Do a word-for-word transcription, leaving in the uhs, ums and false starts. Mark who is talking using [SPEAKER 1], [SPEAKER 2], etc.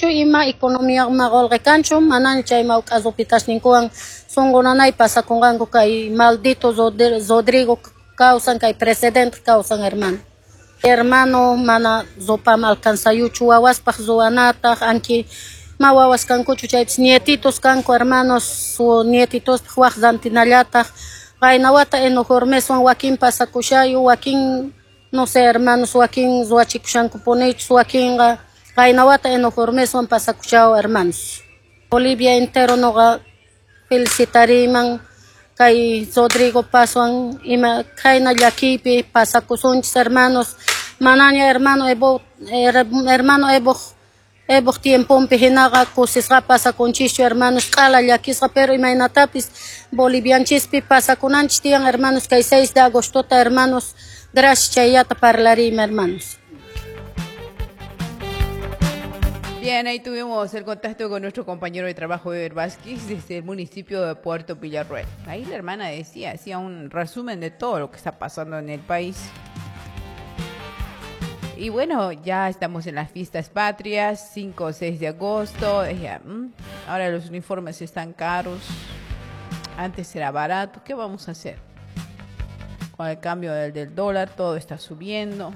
[SPEAKER 1] Tukuy ima economía ma qolqe kanchu, manaña chay mawk'a ropitasninkuwan sunqu nanay pasakunqanku kay maldito Rodrigo kawsan, kay presidente kawsan, hermano. Hermano, mana ropam alcanzayuchu wawaspaq ruwanataq, anki ma wawas kankuchu chaypis nietitos kanku, hermanos, su nietitospaq waq rantinallataq. Qayna wata enojormeswan wakin pasakushayu, wakin no sé, hermanos, wakin ruwachikushankupunichus, wakinqa qayna wata enojormeswan pasakushaw, hermanos. Bolivia entero noqa felicitariman kay Rodrigo Pazwan ima khayna llakiypi pasakusunchis, hermanos. Manaña hermano Evo, hermano Evo Evoq tiemponpi hinaqa kusisqa pasakunchischu, hermanos, q'ala llakisqa, pero imaynatapis bolivianchispi pasakunanchis tiyan, hermanos, kay seis de agostota, hermanos. Gracias, chayllata parlariymi, hermanos.
[SPEAKER 2] Bien, ahí tuvimos el contacto con nuestro compañero de trabajo, Eber Vázquez, desde el municipio de Puerto Villarroel. Ahí la hermana decía, hacía un resumen de todo lo que está pasando en el país. Y bueno, ya estamos en las fiestas patrias, cinco o seis de agosto. Ya, ahora los uniformes están caros. Antes era barato. ¿Qué vamos a hacer? Con el cambio del, del dólar, todo está subiendo.